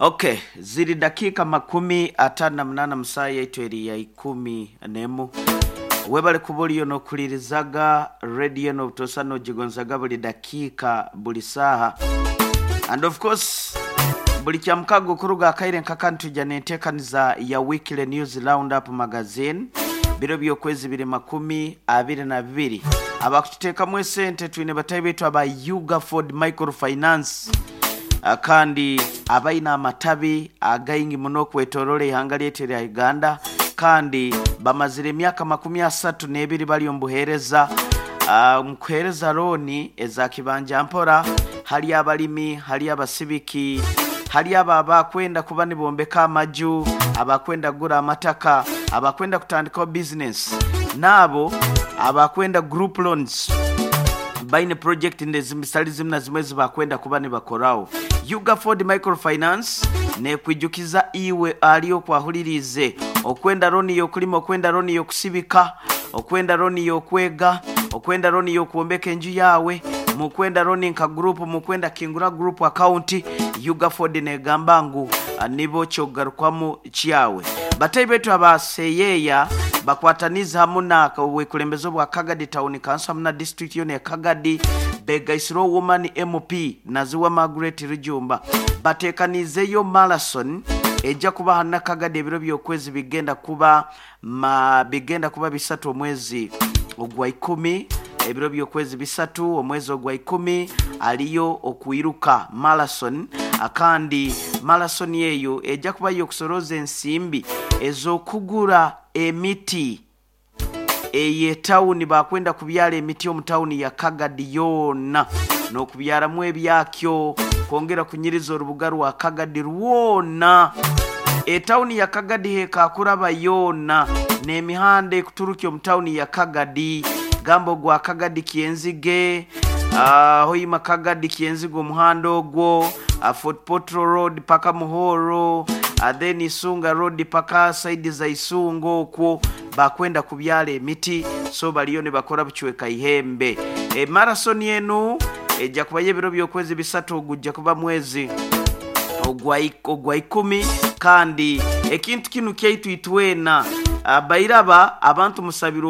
Okay, ziri dakiika 58 mu saaha yaitu eri ya 11. Webale kuba oriyo n'okuhuririzaga rediyo n'obutosa n'ogigonzaga buli dakiika buli saaha. And of course, buli kyamukaga okuruga akaire nkaka nitwija n'enteekaniza ya Weekly News Roundup Magazine biro by'okwezi biri 22. Abakututeekamu esente twine batahi baitu aba Ugaford Microfinance kandi abaine amatabi againgi muno okwetoroora eihanga lyaitu erya Uganda kandi bamazire emyaka 32 bari omu buheereza omu kuheereza looni eza kibanja mpora hali abalimi, hali abasibiki, hali abo abakwenda kuba nibombeka amaju, abakwenda kugura amataka, abakwenda kutandikaho bizinesi n'abo abakwenda group loans. Baine purojekiti zitari zimwe na zimwe ezi bakwenda kuba nibakoraho. Ugaford Microfinance neekwijukiza iwe ari oku ahuririize okwenda looni y'okurima, okwenda looni y'okusibika, okwenda looni y'okwega, okwenda looni y'okwombeka enju yaawe, mukwenda looni nka guruupu, mukwenda kingura guruupu akawunti, Ugaford neegamba ngu nibo ky'okugarukwamu kyawe. Batahi baitu aba Seyeya bakwataniize hamu na obwekulembeze obwa Kagadi Town Council hamu na disiturikiti yoona eya Kagadi begaisireho Woman MP Naziwa Margaret Rujumba bateekaniizeyo marathon eja kuba hanu Kagadi ebiro by'okwezi bigenda kuba ma bigenda kuba bisatu omwezi ogwa ikumi ebiro by'okwezi bisatu omwezi ogwa ikumi aliyo okwiruka marathon kandi marathon eyo eja kuba y'okusoroza ensimbi ez'okugura emiti ey'etawuni bakwenda kubyara emiti omu tawuni ya Kagadi yoona n'okubyaramu ebyakyo kwongera kunyiriza orubuga rwa Kagadi rwona. Etawuni ya Kagadi hekakuraba yoona n'emihanda ekuturukya omu tawuni ya Kagadi gamba ogwa Kagadi Kyenzige, Hoima Kagadi Kyenzige omuhanda ogwo, Fort Portal Road paka Muhoro, then Isunga Road paka saidi za Isunga okwo bakwenda kubyara emiti so bariyo nibakora bucweka ihembe. E marathon enu eja kubayo ebiro by'okwezi bisatu ogujja kuba mwezi ogwa ikumi kandi ekintu kinu kyaitu itwena bairaba abantu musabire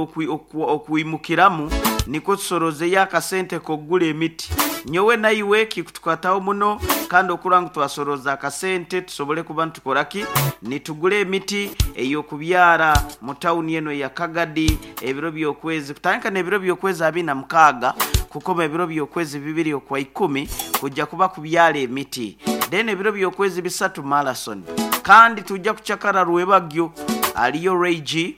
okwimukiramu nikwo tusorozeyo akasente k'okugura emiti. Nyowe naiwe kikutukwataho muno kandi okura ngu twasoroza akasente tusobole kuba nitukora ki? Nitugura emiti ey'okubyara mu tawuni enu eya Kagadi ebiro by'okwezi kutandika n'ebiro by'okwezi 26 kukoma ebiro by'okwezi 2 okwa ikumi kujja kuba kubyara emiti. Then ebiro by'okwezi bisatu marathon. Kandi tujja kucakara rwebagyo aliyo Ray G.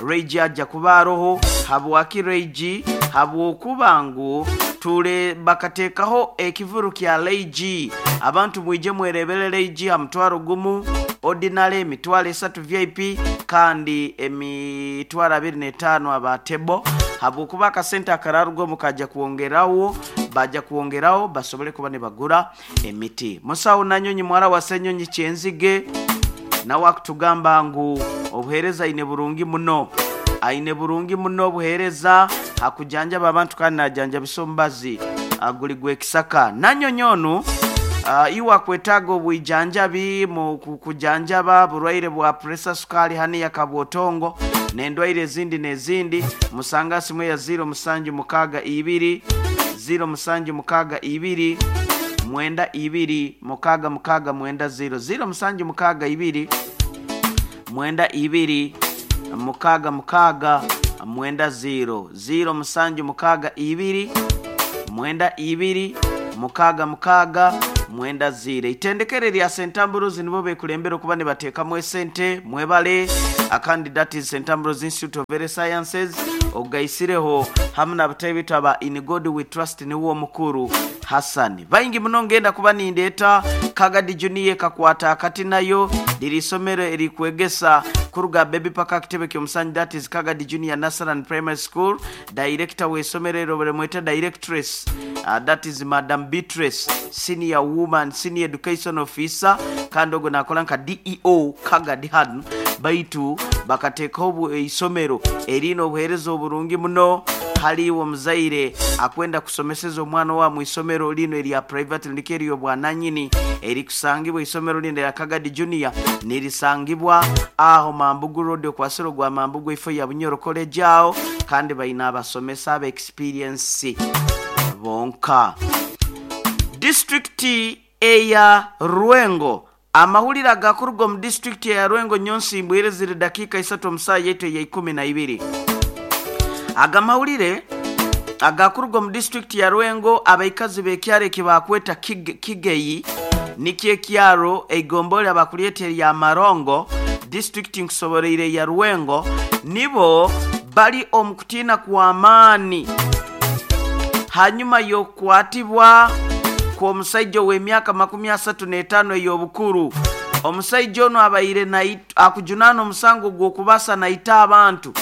Ray G aja kuba aroho habwaki Ray G? Habwokuba ngu ture bakateekaho ekivuru kya Ray G. Abantu mwije mwerebere Ray G ha mutwaro gumu ordinary emitwaro esatu VIP kandi emitwaro 25 aba table habwokuba akasente akararugamu kaja kwongeraho baja kwongeraho basobole kuba nibagura emiti. Musawo Nanyonyi mwara wa Senyonyi Kyenzige nawe akutugamba ngu obuheereza aine burungi muno. Aine burungi muno obuheereza hakujanjaba abantu kandi najanjabisa omubazi guri gw'ekisaka. Nanyonyi onu iwe akwetaaga obwijanjabi mu kujanjaba burwaire bwa pressure, sukali, haniya, kabwotongo n'endwaire ezindi n'ezindi musanga simu ya 0762 0762 92 66 90 0762 92 66 90 0762 92 66 90. Itendekero lya St Ambrose nibo bekulembera okuba nibateekamu esente mwebale akandi that is St Ambrose Institute of Health Sciences ogaisireho hamu n'abatahi baitu aba In God We Trust niwe omukuru Hassan. Baingi muno ngenda kuba nindeeta Kagadi Junior ekakwata akati nayo liri isomero erikwegesa kuruga baby paka kitebe ky'omusanju that is Kagadi Junior Nursery and Primary School. Director w'eisomero eryo barimweta Directress that is Madam Beatrice Senior Woman Senior Education Officer kandi ogwo nakora nka DEO Kagadi hanu baitu bakateekaho eisomero eriine obuheereza oburungi muno. Hali iwe omuzaire akwenda kusomeseza omwana wa mu isomero lino erya private ndiko ery'obwananyini erikusangibwa, isomero lino erya Kagadi Junior nirisangibwa aho Mambugu Road, okwasiro gwa Mambugu, ifo ya Bunyoro College aho, kandi baina abasomesa aba experience bonka. Disitulikiti eya Rwengo. Amahulire agakuruga omu disitulikiti eya Rwengo nyonsimbwire ziri dakiika isatu omu saaha yaitu eya 12. Aga mahulire agakuruga omu disitulikiti ya Rwengo, abaikazi b'ekyaro eki bakweta Kigeyi, nikyo ekyaro eigombole abakulyeta erya Marongo, disitulikiti nkusoboreire eya Rwengo, nibo bali omu kutiina kw'amaani hanyuma y'okukwatibwa kw'omusaija ow'emyaka 35 ey'obukuru. Omusaija onu abaire akujunaana omusango gw'okubasa naita abantu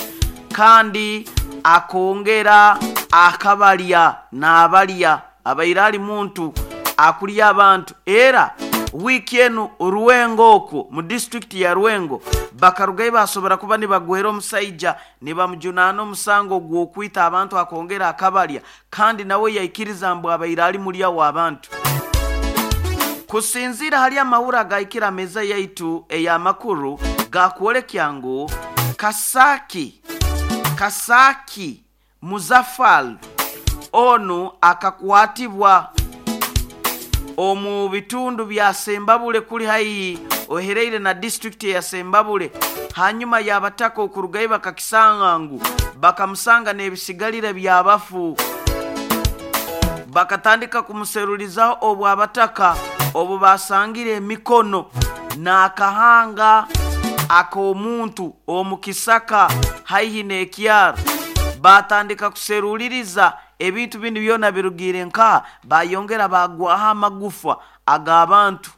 kandi akongera akabalya n'abalya, abaire ali muntu akulya abantu. Era wiiki enu Rwengo okwo mu disitulikiti ya Rwengo bakarugayo basobora kuba nibagwera omusaija nibamujunaana omusango gw'okwita abantu akongera akabalya, kandi nawe yaikiriza mbu abaire ali mulya w'abantu. Kusinziira hali amahuri agahikire meza yaitu ey'amakuru gakwolekya ngu Kasaki Muzafal onu akakwatibwa omu bitundu bya Sembabule kuli haihi ohereire na disitulikiti ya Sembabule, hanyuma y'abataka okurugayo bakakisanga ngu bakamusanga n'ebisigalire by'abafu, bakatandika kumuserulizaho obu abataka obu basangire emikono n'akahanga ak'omuntu omu kisaka haihi n'ekyaro, batandika kuseruliriza ebintu binu byona birugiire nkaha, bayongera bagwaho amagufa ag'abantu.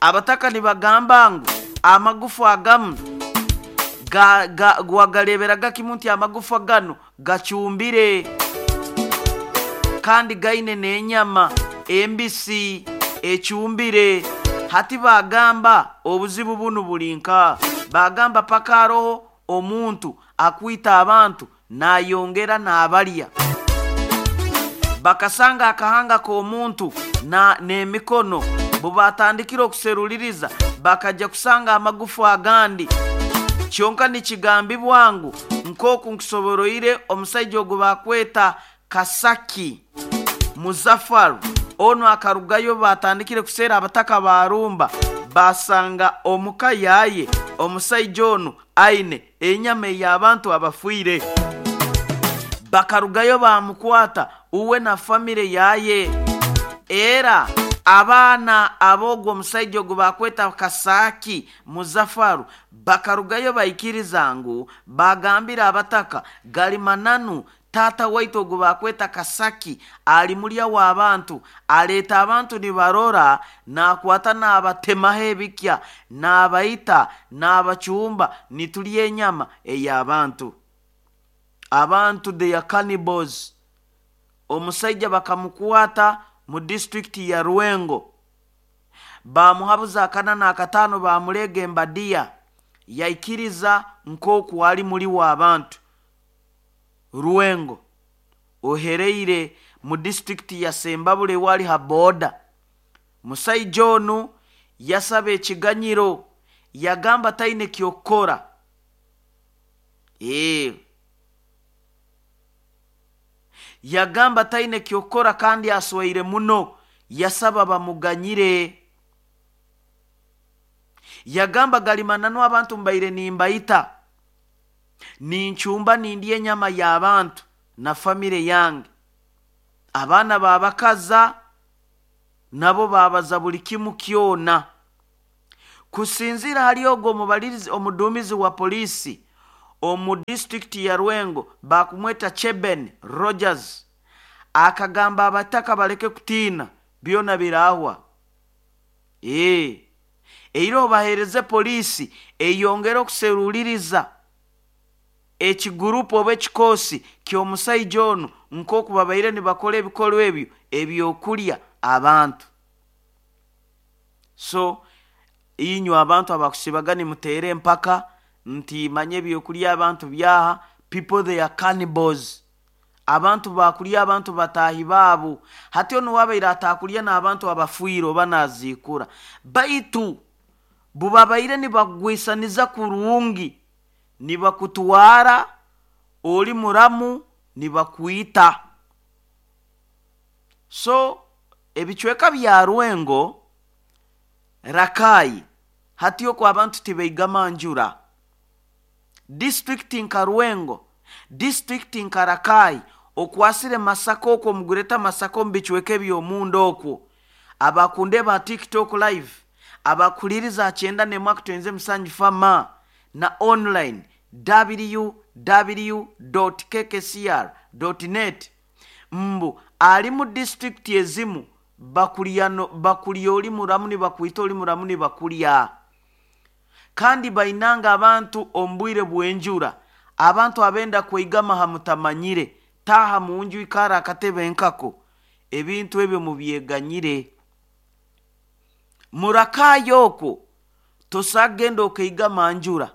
Abataka nibagamba ngu amagufa agamu wagareberaga kimu nti amagufa gano gacumbire kandi gaine n'enyama embisi ecumbire. Hati bagamba obuzibu bunu buli nka, bagamba paka haroho omuntu akwita abantu nayongera n'abalya. Bakasanga akahanga k'omuntu n'emikono, bubatandikire okuseruliriza bakajja kusanga amagufa agandi. Kyonka nikigambibwa ngu nk'oku nkusoboroire omusaija ogu bakweta Kasaki Muzafaru onu akarugayo, batandikire kuseera abataka barumba, basanga omuka yaye omusaija onu aine enyama ey'abantu abafiire. Bakarugayo bamukwata uwe na famire yaye. Era abaana ab'ogwo omusaija ogu bakweta Kasaki Muzafaru bakarugayo baikiriza ngu bagambira abataka gali mananu taata waitu ogu bakweta Kasaki ali mulya w'abantu, aleeta abantu nibarora, nakwata n'abatemaho ebikya, n'abaita, n'abacumba, nitulya enyama ey'abantu. Abantu they are cannibals. Omusaija bakamukwata mu disitulikiti ya Rwengo, bamuhabuza 405, bamuleega embadiya, yaikiriza nk'oku ali muli w'abantu. Rwengo ohereire mu disitulikiti ya Sembabule wali ha boda. Musaija onu yasaba ekiganyiro, yagamba taine kyokukora. Yagamba taine kyokukora kandi aswaire muno, yasaba bamuganyire. Yagamba gali mananu abantu mbaire nimbaita, nincumba nindya enyama y'abantu na famire yange. Abaana babakaza nabo babaza buli kimu kyona. Kusinziira hali ogwo omubalirizi omuduumizi wa poliisi omu disitulikiti ya Rwengo bakumweta Cheben Rogers, akagamba abataka baleke kutiina, byona birahwa. Eira obaheereze poliisi eyongere okuseruliriza ekigurupu oba ekikoosi ky'omusaija onu nk'oku babaire nibakora ebikorwa ebyo ebyokulya abantu. So inywe abantu abakusibaga nimuteera empaka nti manye ebyokulya abantu byaha, people they are cannibals. Abantu bakulya abantu bataahi baabo. Hati onu wabaire ataakulya n'abantu abafiire oba naziikura, baitu bubabaire nibakugwisaniza kurungi, nibakutwara oli muramu, nibakwita. So ebicweka bya Rwengo, Rakai, hati okwo abantu tibaigama njura. Disitulikiti nka Rwengo, disitulikiti nka Rakai, okwasire Masaka okwo, omugureta Masaka, omu bicweka eby'omunda okwo, abakundeba ha TikTok live, abakuhuliriza ha 91.7 fama na online www kkcr net, mbu ali mu disitulikiti ezimu bakulya, no, bakulya oli muramu, nibakwita oli muramu, nibakulya. Kandi bainanga abantu omu bwire bw'enjura, abantu abenda kweigama ha mutamanyire, taaha mu nju, ikara akatebe nkako. Ebintu ebyo mubyeganyire. Murakaayo okwo tosagenda okaigama njura,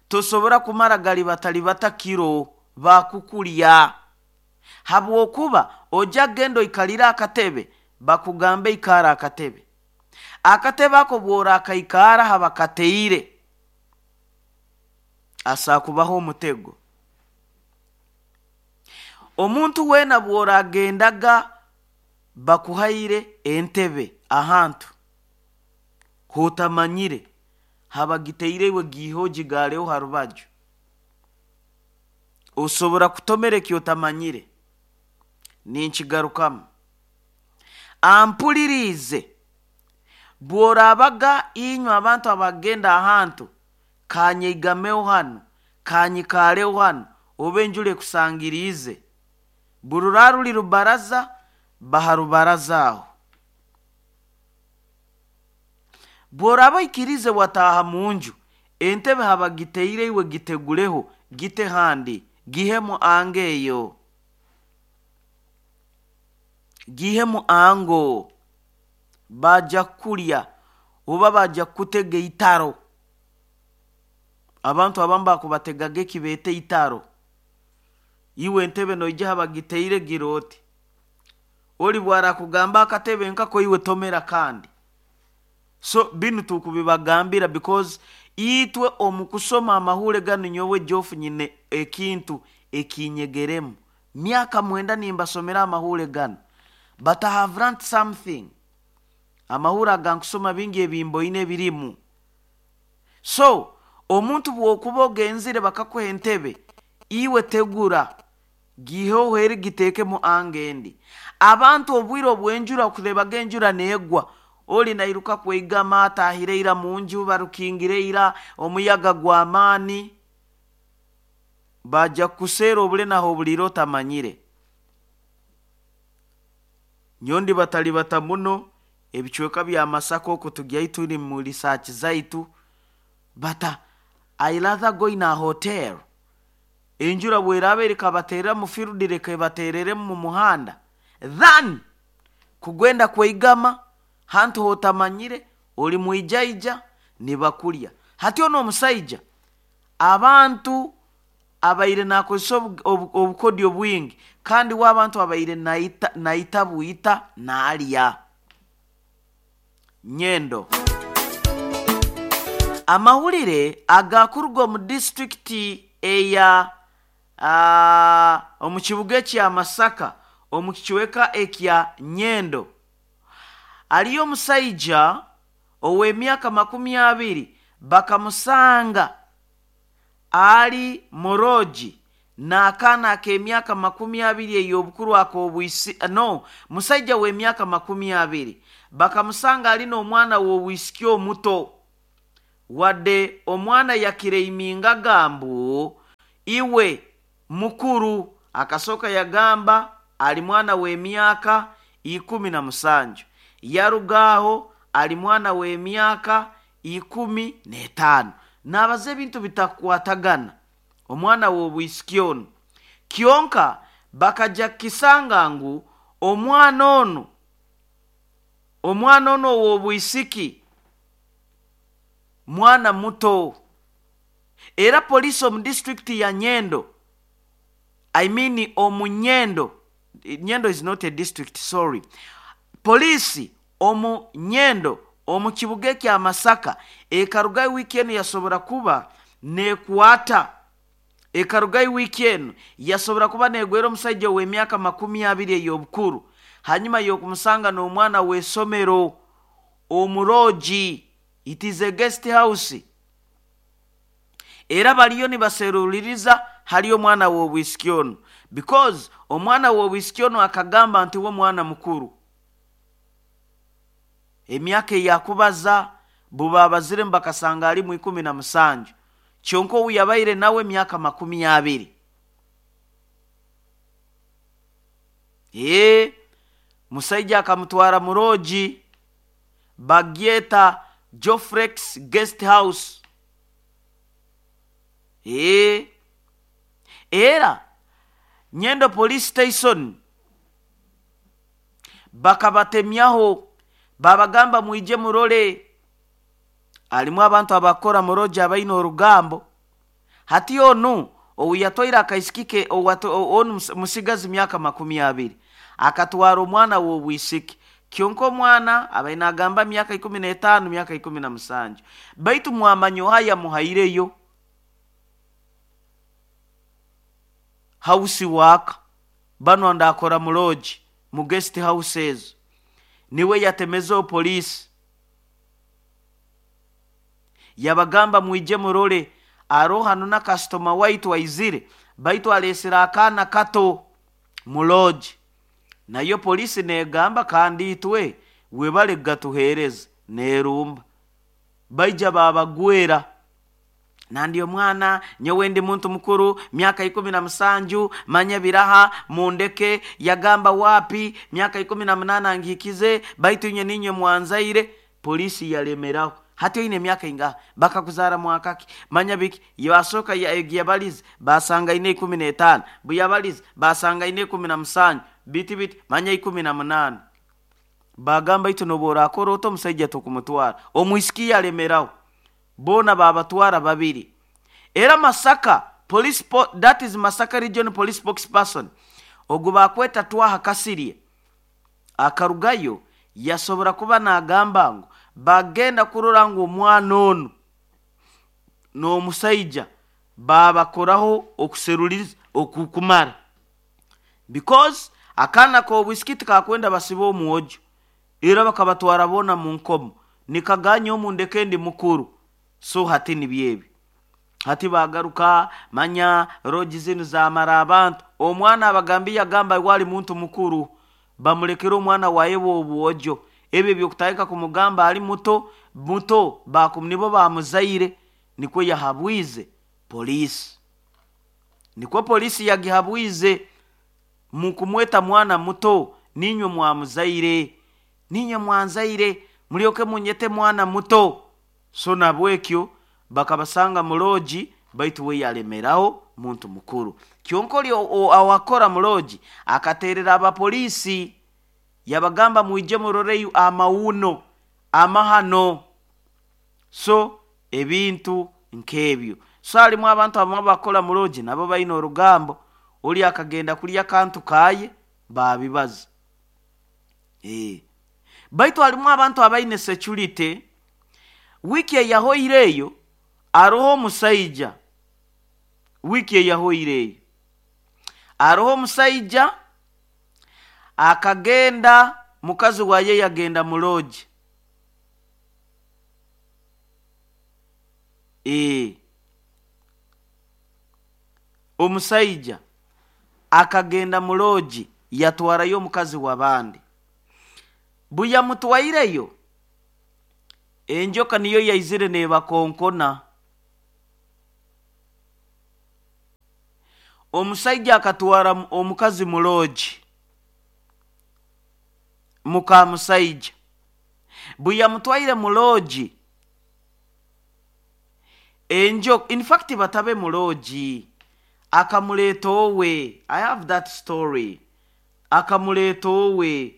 tosobora kumara gali batali batakiro, bakukulya, habwokuba ojja kugenda oikalire akatebe, bakugambe ikara akatebe. Akatebe ako bw'orakaikara habakateire, asakubaho omutego. Omuntu weena bw'oragendaga bakuhaire entebe ahantu hotamanyire habagiteire, iwe giihe ogigaaleho ha rubaju. Osobora kutomera eki otamanyire. Ninkigarukamu, ampuliriize, bw'oraabaga inywe abantu abagenda ahantu, kanyeigameho hanu, kanyikaaleho hanu, oba enjura ekusangiriize, burura ruli rubaraza, baha rubaraza aho. Bw'oraaba oikirize wataaha mu nju, entebe habagiteire, iwe giteguleho, gite handi, gihemu ango eyo, gihemu ango. Bajja kukulya oba bajja kukutega eitaro. Abantu abamu bakubategaga ekibeeta eitaro. Iwe entebe noija habagiteire, gira oti oli bwarakugamba akatebe nkako, iwe tomera. Kandi so binu tukubibagambira because itwe omu kusoma amahule ganu, nyowe Jofu nyine ekintu ekinyegeremu. Myaka 9 nimbasomera amahule ganu, but I have learned something. Amahule agankusoma bingi ebimboine ebirimu. So omuntu bw'okuba ogenzire bakakuha entebe, iwe tegura, giiheho eri, giteekemu anga endi. Abantu obwire obw'enjura, okurebaga enjura neegwa, oli nairuka kweigama, atahire ira mu nju, barukingire ira, omuyaga gw'amaani, bajja kukuseera obule naho obuliire otamanyire. Nyondi batalibata muno ebicweka bya Masaka okwo, tugyayo turi mu research zaitu, but I rather go in a hotel. Enjura bweraaba erikabaterera mu field, reka ebatereremu mu muhanda, than kugenda kweigama hantu hotamanyire, oli mwijaija, nibakulya. Hati ono omusaija abantu abaire nakozesa obukodyo bwingi, kandi we abantu abaire naita, naita bwita naalya. Nyendo, amawulire agakuruga omu disitulikiti eya omu kibuga ekya Masaka, omu kicweka ekya Nyendo, aliyo omusaija ow'emyaka 20, bakamusanga ali morogi n'akaana ak'emyaka 20 ey'obukuru ak'obwisi. No musaija w'emyaka 20 bakamusanga ali n'omwana w'obwisiki omuto, wadde omwana yakireimingaga mbu iwe mukuru. Akasooka yagamba ali mwana w'emyaka 17, yaruga aho ali mwana w'emyaka 15. Nabaza ebintu bitakukwatagana omwana w'obwisiki onu. Kyonka bakajja kukisanga ngu omwana onu ow'obwisiki mwana muto. Era poliisi omu disitulikiti ya Nyendo I mean omu Nyendo. Nyendo is not a district, sorry. Poliisi omu Nyendo omu kibuga ekya Masaka ekarugayo wiiki enu yasobora kuba nekwata, ekarugayo wiiki enu yasobora kuba negwera omusaija ow'emyaka 20 ey'obukuru hanyuma y'okumusanga n'omwana w'esomero omurogi. It is a guest house. Era baliyo nibaseruliriza hali omwana w'obwisiki onu, because omwana w'obwisiki onu akagamba nti we mwana mukuru, emyaka eyakubaza bubabaziremu bakasanga alimu 17, kyonka owu yabaire nawe emyaka 20. Musaija akamutwara murogi bagyeta Jofrex Guest House. Era Nyendo Police Station bakabatemyaho, babagamba mwije murole alimu abantu abakora murogi abaine orugambo. Hati onu owu yatwaire akaisiki ke, onu musigazi myaka 20 akatwara omwana w'obwisiki, kyonka omwana abaine agamba myaka 15, myaka 17, baitu mwamanya oha yamuhaireyo house work bano ndakora murogi mu guest house ezo, niwe yatemezeho poliisi yabagamba mwije murole aroho hano na kasitoma waitu aizire, baitu alesere akaana kato murogi. Nayo poliisi negamba kandi itwe webale gatuhereza nerumba, baija babagwera. Nandi omwana nyowe ndi muntu mukuru myaka 17 manya biraha mundeke. Yagamba wapi myaka 18 ngikize, baitu inye ninye mwanzaire. Polisi yalemeraho. Hati oine emyaka ingaha, bakakuzara mwakaki, manya biki. Yasoka yabalize basanga ine 15, buyabalize basanga ine 17, biti biti manya 18. Bagamba itu nobu orakora ota omusaija tokumutwara. Omwisiki yalemeraho, bona babatwara babiri. Era Masaka police that is Masaka Region Police spokesperson ogu bakweta Twaha Kasirye akarugayo yasobora kuba nagamba ngu bagenda kurora ngu omwana onu n'omusaija babakoraho okuseruliriza okukumara, because akaana k'obwisiki tikakwenda basibe omwojo, era bakabatwara bona mu nkomo nikaganya omundeke ndi mukuru. So hati nibyebi hati bagaruka manya rogi zinu zamara abantu. Omwana abagambi yagamba wali muntu mukuru, bamulekera omwana waye w'obwojo, ebyo byokutandika kumugamba ali muto muto, nibo bamuzaire. Nikwo yahabwize polisi, nikwo polisi yagihabwize mukumweta mwana muto, ninywe mwamuzaire, ninywe mwanzaire, mulyoke munyete mwana muto. So nabwekyo bakabasanga muloji, baitu we yalemeraho muntu mukuru. Kyonka oli awakora muloji akaterera abapolisi yabagamba mwije muroreyo amawuno amahano. So ebintu nkebyo. So halimu abantu abamwe bakora muloji nabo baine orugambo, oli akagenda kulya kantu kaye babibaza. Baitu halimu abantu abaine security. Wiki eyahoireyo aroho omusaija, wiki eyahoireyo aroho omusaija akagenda, mukazi waye yagenda muloji. Omusaija akagenda muloji yatwarayo omukazi w'abandi. Buyamutwaireyo enjoka niyo yaizire nebakonkona. Omusaija akatwara omukazi muloji, muka musaija. Buyamutwaire muloji enjoka, in fact batabe muloji, akamuleta owe. I have that story. Akamuleta owe,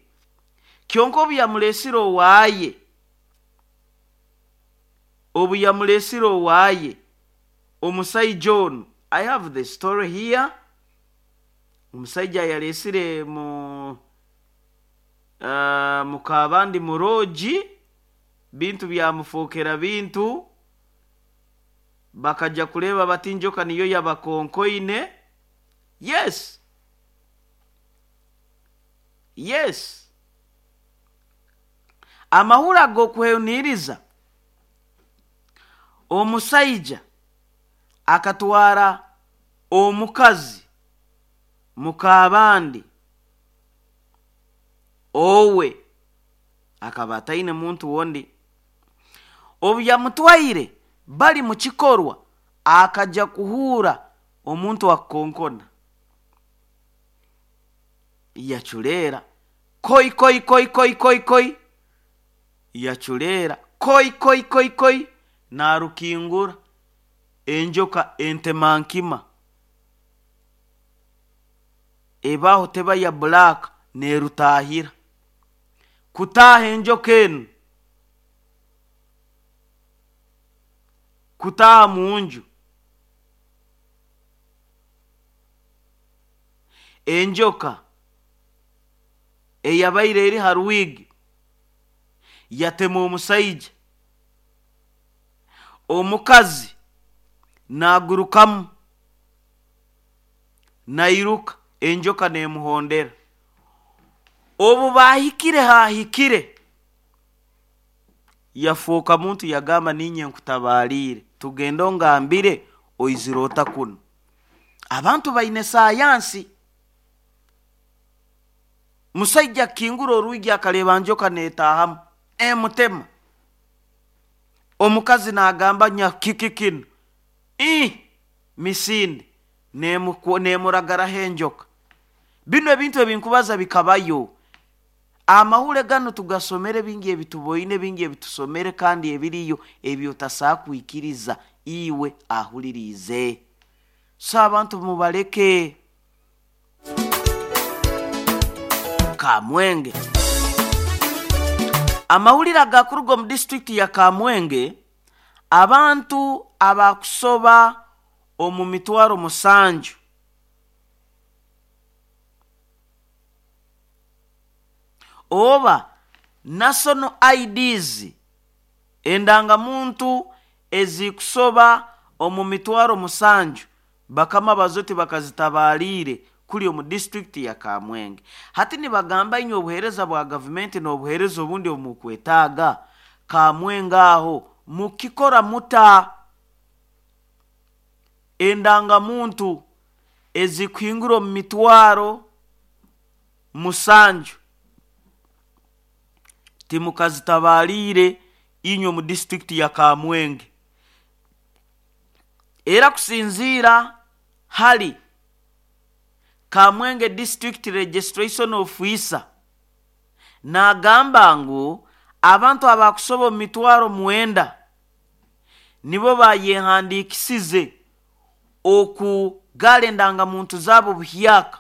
kyonka obu yamulesire owaye, obu yamulesire owaye omusaija onu, I have the story here. Omusaija yalesire mu mukabandi murogi, bintu byamufokera bintu, bakaja kureba bati enjoka niyo yabakonkoine. Yes, yes. Amahuri ag'okwehuniiriza, omusaija akatwara omukazi mukabandi owe akaba ataine muntu wondi. Obu yamutwaire bali mu kikorwa, akaja kuhuura omuntu akukonkona, yaculeera koi koi koi koi koi koi, yaculeera koi koi koi koi, naarukingura enjoka entemankima ebaho teba ya black neerutaahira. Kutaaha enjoka enu, kutaaha mu nju, enjoka eyabaire eri ha rwigi yatema omusaija, omukazi naagurukamu nairuka, enjoka neemuhondera. Obu baahikire haahikire, yafooka muntu yagamba, ninye nkutabaaliire, tugende ongambire oizire ota kunu. Abantu baine sayansi. Musaija akingura orwigi akareeba njoka neetaahamu, emutema. Omukazi naagamba, nyakiki kinu, ii misinde neemuragaraho enjoka. Binu ebintu ebinkubaza bikabayo. Amahure ganu tugasomere, bingi ebituboine, bingi ebitusomere, kandi ebiriyo ebi otasaa kwikiriza iwe ahuliriize. So abantu mubaleke. Kamwenge. Amawulire agakuruga omu disitulikiti ya Kamwenge, abantu abakusoba omu mitwaro 7 oba national IDs, endangamuntu ezikusoba omu mitwaro 7, bakama bazo tibakazitabaaliire kuli omu disitulikiti ya Kamwenge. Hati nibagamba, inywe obuheereza bwa gavumenti n'obuheereza obundi obu mukwetaaga Kamwenge aho mukikora muta? Endangamuntu ezikuhingura omu mitwaro 7 timukazitabaaliire inywe omu disitulikiti ya Kamwenge. Era kusinziira hali Kamwenge District Registration Officer, naagamba ngu abantu abakusoba omu mitwaro 9 nibo bayehandiikisize okugara endangamuntu zaabo buhyaka,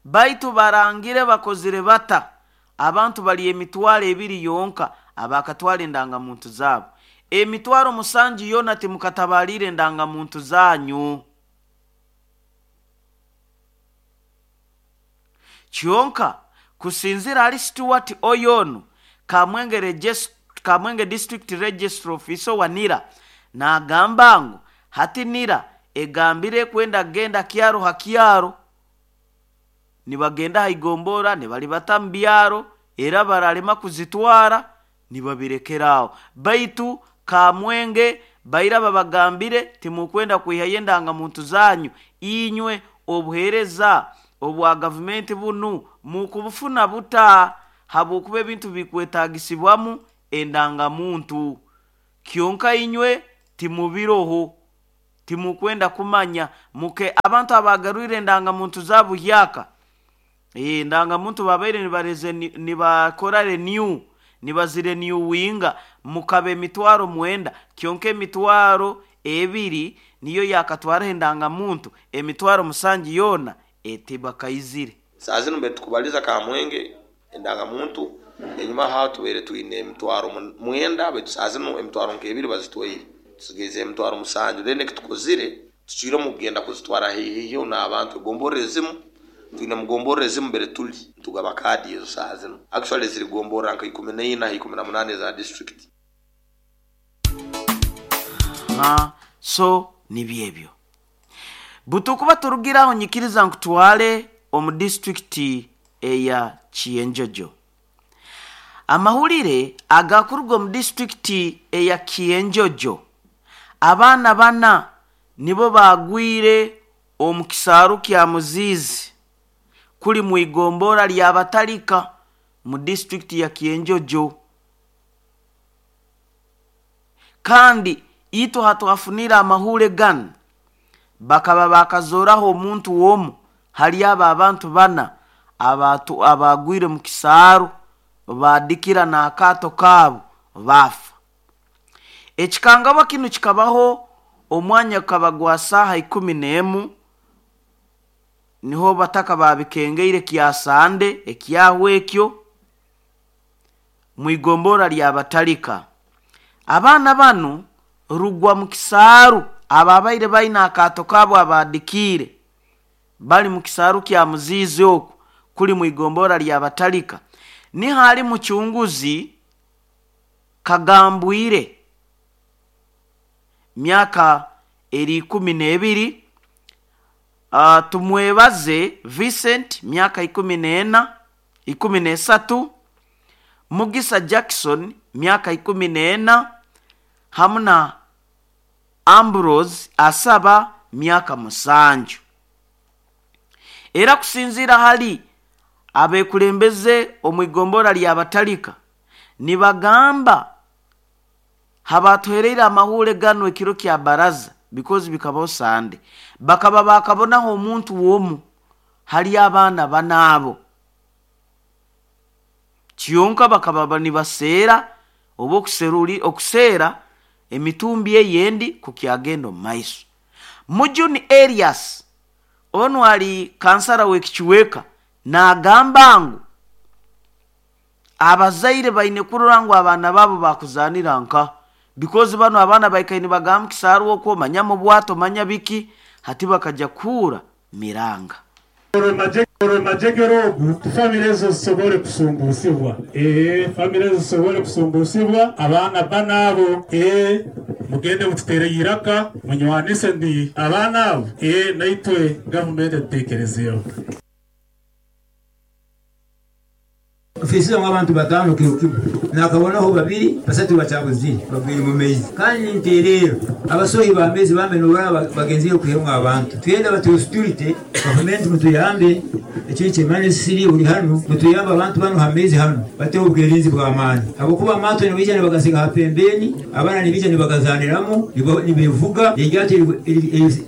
baitu barangire bakozire bata, abantu bali emitwaro 2 yonka abakatwara endangamuntu zaabo. Emitwaro 7 yoona timukatabaaliire endangamuntu zanyu. Kyonka kusinzira hali Stuart Oyonu, Kamwenge District Registrar Officer wa NIRA, naagamba ngu hati NIRA egambire kwenda kugenda kyaro ha kyaro, nibagenda ha igombora nibalibata mu byaro, era baralema kuzitwara nibabirekera aho. Baitu Kamwenge baira babagambire, timukwenda kwihayo endangamuntu zanyu, inywe obuheereza obwa gavumenti bunu mukubufuna buta? Habwokuba ebintu bikwetagisibwamu endangamuntu, kyonka inywe timubiroho, timukwenda kumanya. Muke abantu abagarwire endangamuntu zaabo buhyaka, endangamuntu babaire nibareze nibakora renew, nibazirenewinga, mukaba emitwaro 9, kyonka emitwaro 2 niyo yakatwaraho endangamuntu, emitwaro 7 yoona etibakaizire. Saa zinu mbere tukubaliza Kamwenge endangamuntu, enyuma haho tubaire twine emitwaro 9, baitu saa zinu emitwaro nk'ebiri bazitwaire, tusigaize emitwaro 7. Then ekitukozire, tucwiremu kugenda kuzitwara haihi n'abantu, egomborra ezimu. Twine mugomborra ezimu mbere tuli nitugaba kaadi ezo saaha zinu. Actually ziri gomborra nka 14 ha 18 eza district. Ha, so nibyo ebyo. Butukuba turugire aho nyikiriza nkutwale omu disitulikiti eya Kienjojo. Amahulire agakuruga omu disitulikiti eya Kienjojo, abaana bana nibo baagwire omu kisaaru kya Muziizi kuli mu igombora lya Batalika mu disitulikiti ya Kienjojo. Kandi itwe hatwafunire amahure ganu bakaba bakazooraho omuntu omu hali abo abantu bana abagwire mu kisaaru baadikira n'akaato kaabo baafa. Ekikangabwa kinu kikabaho omwanya gukaba gwa saaha 11 niho bataka babikengeire kya Sande ekyahwa ekyo mu igombora lya Batalika. Abaana banu rugwa mu kisaaru ababaire baine akaato kaabo abaadikiire bali mu kisaaru kya Muziizi oku kuli mu igombora lya Batalika. Niho ali mucunguzi Kagambwire myaka eri 12, Tumwebaze Vincent myaka 14, 13, Mugisa Jackson myaka 14, hamu na Ambrose Asaba myaka 7. Era kusinziira hali abekulembeze omu igombora lya Batalika nibagamba habatuhereire amahure ganu ekiro kya baraza because bikabaho Sande, bakaba bakabonaho omuntu womu hali abaana banaabo kyonka bakaba nibaseera oba okuseera emitumbi eyendi kukyagenda omu maiso. Mujuni Elias onu ali kansara w'ekichweka naagamba ngu abazaire baine kurora ngu abaana baabo bakuzaanira nka because bano abaana baikaire nibagamba kisaaru okwo manya mu bwato manya biki hati bakaja kuura miranga. Majegere ogu famire ezo zisobole kusumbusibwa. Famire ezo zisobole kusumbusibwa abaana bana abo mugende mututere iraka munywanise ndi abaana abo naitwe gavumenti etutekerezeho. Ofisi abantu 5 kiro kimwe nakabonaho 2 3 bacyabuzire bagwire mu mezi kandi nterero abasohi ba mezi bamenura bagenzi yo kuhemwa abantu twenda batu security government mutuyambe ekiri kimane siri uri hano mutuyamba abantu bano hamezi hano bate ubwirinzi bwa amani abo kuba amato ni bijane bagasiga hapembeni abana ni bijane bagazaniramo nibivuga yegyati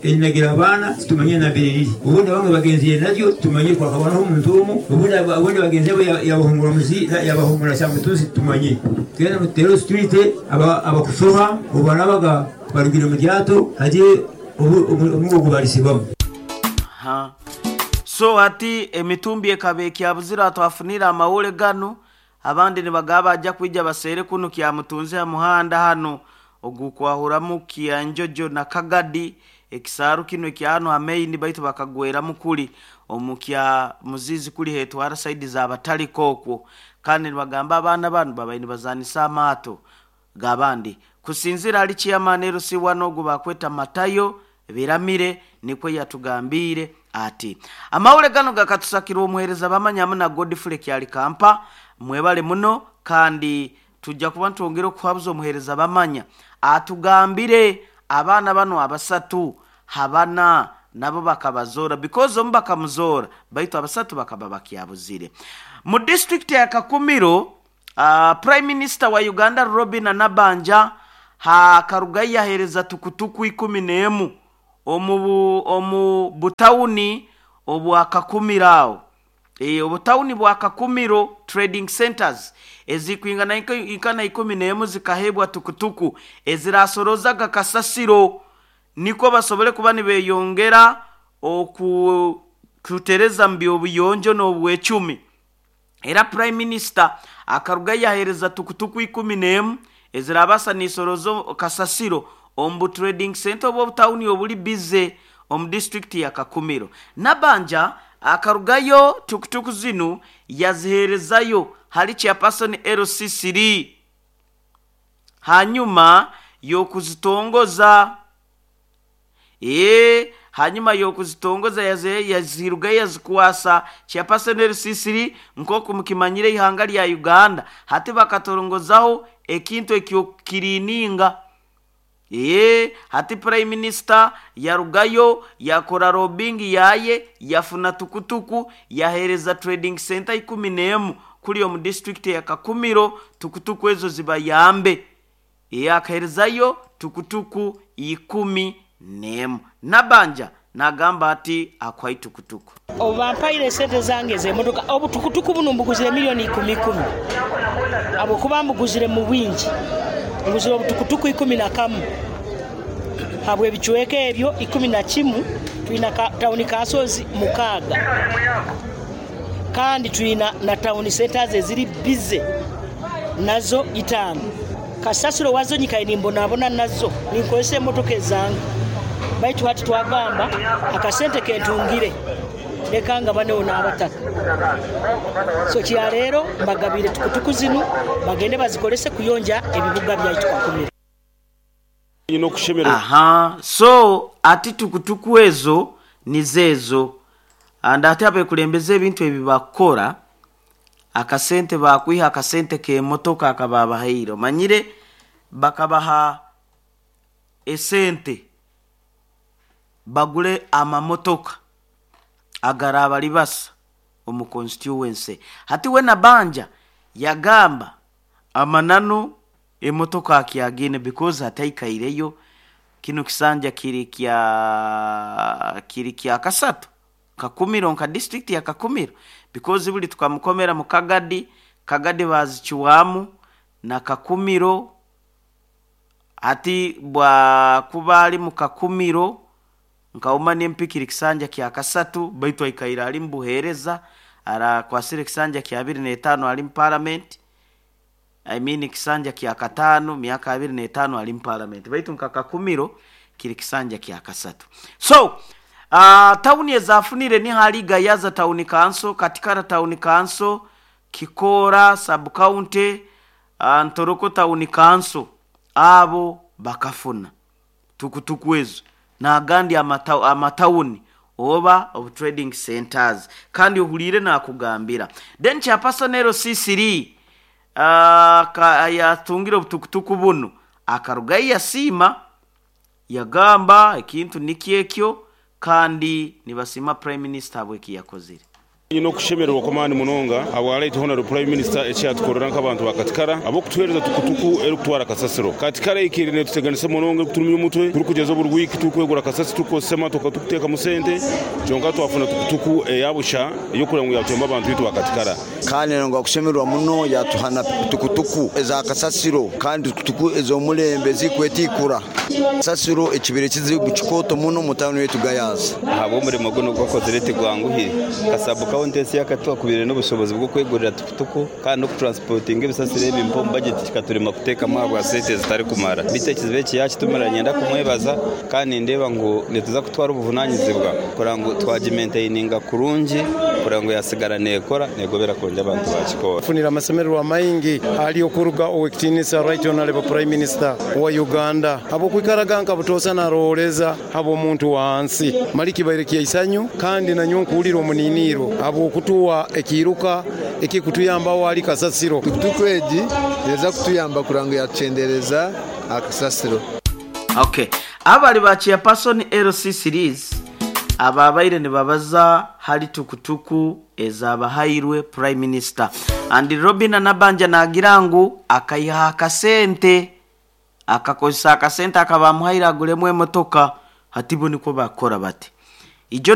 elinagira abana tumanye na biriri ubundi bamwe bagenzi naryo tumanye kwa kabonaho umuntu umwe ubundi bagenzi bo yabahungura muzi yabahungura cyamutuzi tumanye twenda mutero security abakusoha ubanabaga barugira mu ryato haje umugo barisibamo. Ha so ati emitumbi ekabe kyabuzira twafunira amawole gano abandi nibagaba ajya kwijja basere kuno kyamutunze ha muhanda hano ogukwahuramu Kianjojo na Kagadi ekisaaru kino ekyano ameini baitu bakagwera mukuli omukya Muzizi kuli hetwara saidi za Bataliko okwo kandi nibagamba abaana bano babaine bazanisa amaato gabandi kusinzira ali chairman LC1 ogu bakweta Matayo Biramire nikwe yatugambire ati amawule gano gakatusakira omuhereza bamanya na Godfrey Kyali Kampa mwebale muno kandi tujja kuba ntwongera okuhabuza omuhereza bamanya atugambire abaana bano abasatu habana nabo bakabazora because omu bakamuzora baitu abasatu bakaba bakyabuzire. Mu district ya Kakumiro Prime Minister wa Uganda Robin Nabanja hakarugayi yahereza tukutuku 11 omu butawuni obwa Kakumiro aho. Obutawuni bwa Kakumiro trading centers ezikwingana ikana 11 zikahebwa tukutuku ezirasorozaga kasasiro niko basobole kuba nibeyongera okutereza mbyo n'obwecumi. Era Prime Minister akaruga yahereza tukutuku 11 ezirabasa nisorozo kasasiro ombu trading center obwo tawuni obuli bize omu district ya Kakumiro. Nabanja Akarugayo tukutuku zinu yaziheerezayo hali chairperson LC3 hanyuma y'okuzitongoza. Hanyuma y'okuzitongoza yazirugayo yazikwasa chairperson LC3. Nk'oku mukimanyire, ihanga lya Uganda hati bakatongozaho ekintu ekyokukiriininga. Hati prime minister yarugayo yakora lobbying yaye, yafuna tukutuku, yahereza trading center 11 kuli omu district ya Kakumiro. Tukutuku ezo zibayambe. Akaherezayo tukutuku 11. Nabanja nagamba ati akwai tukutuku. Obampaire esente zange ez'emotoka. Obutukutuku buno mbuguzire miliyoni ikumi ikumi, habwokuba mbuguzire mu bwingi. Nguzire obutukutuku 11 habw'ebicweka ebyo 11. Twina tawuni councils 6, kandi twina na town centers eziri bize nazo 5. Kasasiro wazo nyikaye nimbonabona nazo, ninkozesa emotoka ezange. Baitu hati twagamba akasente kentungire leka nga banewo n'abataka. So kyaleero mbagabire tukutuku zinu, bagende bazikolese kuyonja ebibuga byaitu Kakumiro. Aha, so ati tukutuku ezo nizeezo. And ate abekulembeza ebintu ebi bakora akasente, bakwiha akasente k'emotoka akababahaire. Omanyire bakabaha esente bagule amamotoka agaraba basa omu constituency. Hati we Nabanja yagamba amananu emotoka akyagine, because hataikaireyo kino kisanja kiri kya kasatu Kakumiro, nka district ya Kakumiro, because buli tukamukomera mu Kagadi. Kagadi bazikiwamu na Kakumiro. Ati bwakuba ali mu Kakumiro nkauma nempikiri kisanja kya kasatu, baitu aikaire ali mubuheereza, arakwasire kisanja kya 25 ali mu parliament, I mean kisanja kya katano, miaka 25 ali mu parliament, baitu nka Kakumiro kiri kisanja kya kasatu. So tawuni ezafunire ni hali Gayaza Town Council, Katikara Town Council, Kikora Sub County, Ntoroko Town Council. Abo bakafuna tukutuku ezo n'agandi amatawuni oba obu trading centers. Kandi ohulire nakugambira, then chairperson LC3 yatungire obutukutuku buno, akarugayo yasiima, yagamba ekintu nikyekyo, kandi nibasiima prime minister habweki yakozire. Nyina okushemererwa kw'amaani munonga habwalaitu honorable prime minister ekyatukorera nk'abantu ba Katikara ab'okutuheereza tukutuku erikutwara kasasiro. Katikara ikire netuteganisa munonga, ekuturumya omutwe. Turikugeza buri wiiki turikwegura kasasiro, turukukozesa emotoka, tukuteekamu sente. Kyonka twafuna tukutuku eyabusha ey'okureba ngu yatuyamba abantu bitu ba Katikara. Kandi nga kushemererwa muno, yatuhana tukutuku eza kasasiro, kandi tukutuku ez'omulembe zikwetikura kasasiro. Ekibire kizibu kikooto muno mu tawuni yetu Gayaza. Ahabw'omurimo guno gwakozire tigwanguhire. Kasabu kaunti ensi yakatwakubire n'obushobozi bw'okwegurira tukutuku kandi n'okutransportinga ebisasiro ebi mpa omu budget kikaturema kuteekamu ahabwa sente zitarikumara. Bitu ekizibu eki yakitumira, nyenda kumwebaza, kandi nindeeba ngu nituza kutwara obuvunanyizibwa kureba ngu twagimaintaininga kurungi, kureba ngu yasigara neekora negobera kurungi abantu bakikora. Funira amasemererwa maingi ali okuruga owekitiinisa Right Honorable Prime Minister wa Uganda, habwokwikaraga nka butoosa narooleza habw'omuntu wansi. Mali kibaire kyaisanyu, kandi nanyo nkuwulira omuniniiro habwokutuwa ekiiruka ekikutuyambaho ali kasasiro. Tukutuku egi eza kutuyamba kuranga ngu yatukyendereza akasasiro. Okay, abali ba chairperson LC series ababaire nibabaza hali tukutuku ezabahairwe prime minister. And Robina Nabanja nagira ngu akayiha akasente, akakozesa akasente akabamuhaire aguremu emotoka. Hati bo niko bakora bati ijo.